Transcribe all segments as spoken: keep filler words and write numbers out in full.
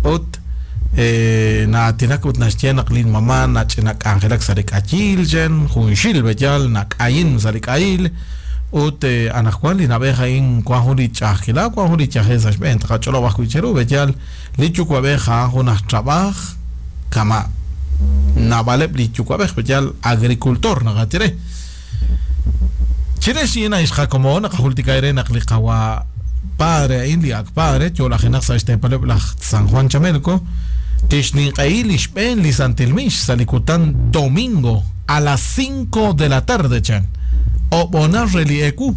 Ut eh, naatinak ut naxye naq lin mama nach'inak'anjelak sa' li k'ayil chen junxil b'eyal nak'ayin sa' li k'ayil ut eh, anaqwan li nab'ej a'in wan jun li ch'a'ajkila wan jun li yajel sa' xb'een taqach'olob' ajwi' cheru b'eyal li yuwa'b'ej a'an jun aj trab'aj kama' naab'aleb' li yuwa'b'ej b'eyal agricultor naqatire chirix a'in ixqakomo naqajultika re naq li qawa padre a'in li ak padre yo'lajenaq sa' xteepaleb' laj San Juan Chamelco tixninq'ehi li xb'een li Santil Mix sa' li kutan domingo a las cinco de la tarde chan ob'onar re li eku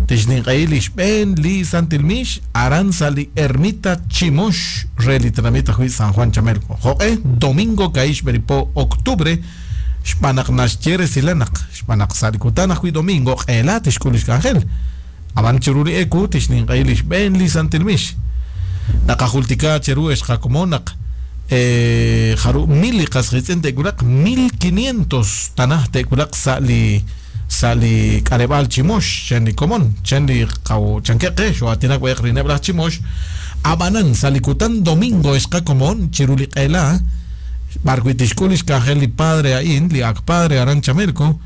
tixninq'ehi li xb'een li Santil Mix aran sa' li ermita Chimox re li tenamit ajwi' San Juan Chamelco jo'q'e domingo ka'ix b'eripo octubre xb'aan naq naxye resilanaq xb'aan naq sa' li kutan ajwi' domingo q'eela tixk'ul li xk'anjel ab'an chiru li eku tixninq'ehi li xb'een li Santil Mix naqajultika cheru exqakomon naq eh, jaru mil li qasqitz'in te'wulaq mil quinientos tanaj te'wulaq sa' li sa' li k'aleb'aal Chimox chen li komon chen li qaw chanke'qe xo'aatinak b'eq rineb' laj Chimox ab'anan sa' li kutan domingo exqakomon chiru li q'eela b'arwi' tixk'ul li xk'anjel li padre a'in li ak padre aran Chamelco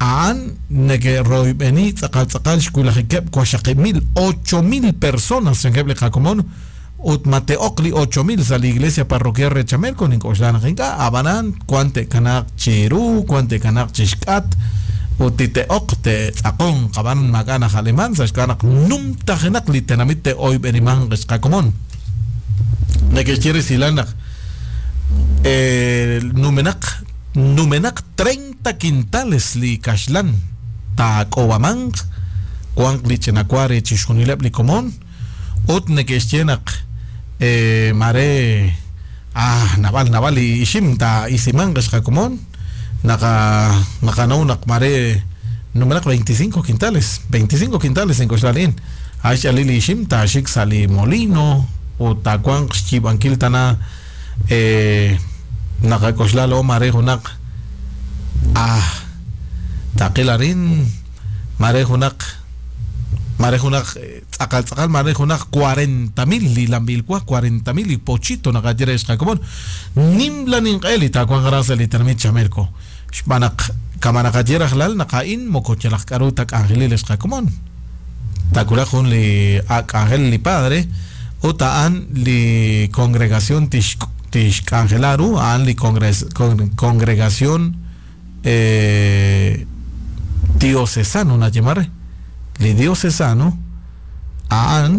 a'an neke'royb'eni tz'aqal tz'aqal xwulajikeb' waxaqib' mil ocho mil personas chankeb' li qakomon ut mate'oq li ocho mil sa' li iglesia parroquial re Chamelco nink'oxla naq ink'a' ab'anan wan te'kanaaq chiru wan te'kanaaq chixk'at ut tite'oq te'tz'aqon qab'an maak'a' najaleman sa' xk'ab'a naq numtajenaq li tenamit te'oyb'eniman xqakomon neke'xye resilal naq eh, numenaq numenaq treinta quintales li kaxlan taak'obamanq wanq li ch'inawa re chixjunileb' li komon ut neke'xye naq eh, mare ah nab'al nab'al li ixim ta isimanq xqakomon naqa naqanaw naq mare numenaq veinticinco quintales veinticinco quintales ink'oxlalin ax'alil li ixim taaxik sa' li molino ut taawanq xyiib'ankil tana eh, naqak'oxla lo mare junaq ah taqil arin mare junaq mare junaq tz'aqal tz'aqal mare junaq cuarenta mil li lambilwa cuarenta mil li pochito naqaye xqakomon nim la ninq'eli taawanq aran sa' li tenamit Chamelco xb'aan naq kama naqaye rajlal naq a'in moko yalaq k'aru tak'anjelil xqakomon takulaq jun li ak'anjel li padre ut a'an li congregación tix tixk'anjelaru a'an li congres, con, congregación eh, diocesano nayemare li diocesano a'an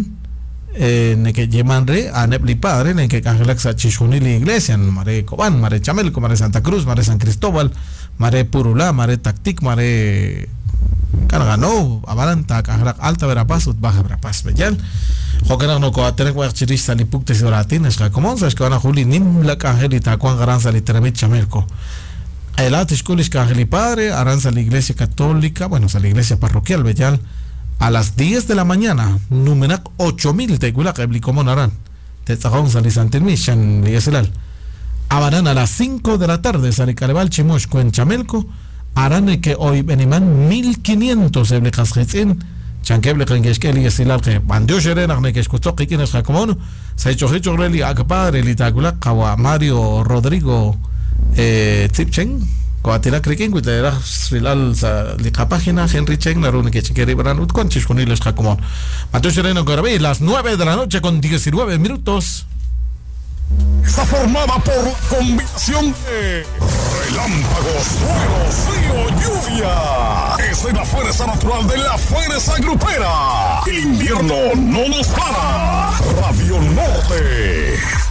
eh, neke'yeman re a'aneb' li padre neke'k'anjelak sa' chixjunil li iglesia mare Cobán, mare Chamelco, mare Santa Cruz, mare San Cristóbal, mare Purulá, mare Tactic, mare Cargano, ab'anan taak'anjelaq Alta Verapaz ut Baja Verapaz b'eyal jo'kan naq noko'aatinak b'ayaq chirix sa' li puktes oratin xqakomon sa' xk'ab'a naq jun li nim la k'anjel li taawanq aran sa' li tenamit Chamelco q'eela tixk'ul li xk'anjel li padre aran sa' la iglesia católica, bueno sa' la iglesia parroquial b'eyal a las diez de la mañana numenaq ocho mil te'wulaq eb' li komon aran te'tz'aqon sa' li Santil Mix chan li esilal ab'anan a las cinco de la tarde sa' li k'aleb'aal Chimox kuen Chamelco aran neke'oyb'eniman mil quinientos eb' li qasqitz'in chankeb' li qenke'xk'e li esilal qe b'antiox ere naq neke'xkutzoq qik'in xqakomon sa' ich'ojich'oq re li ak padre li taawulaq qawa Mario Rodrigo eh, Tzipchen ko'aatinak rik'in wi te'raj rilal sa' li qapágina Henry Chen naru neke'ch'ikeri b'aran ut wan chixjunil xqakomon b'antiox ere nokorab'i las nueve de la noche con diecinueve minutos. Está formada por la combinación de relámpagos, truenos, frío, lluvia. Esa es la fuerza natural de la fuerza grupera. El invierno no nos para. Radio Norte.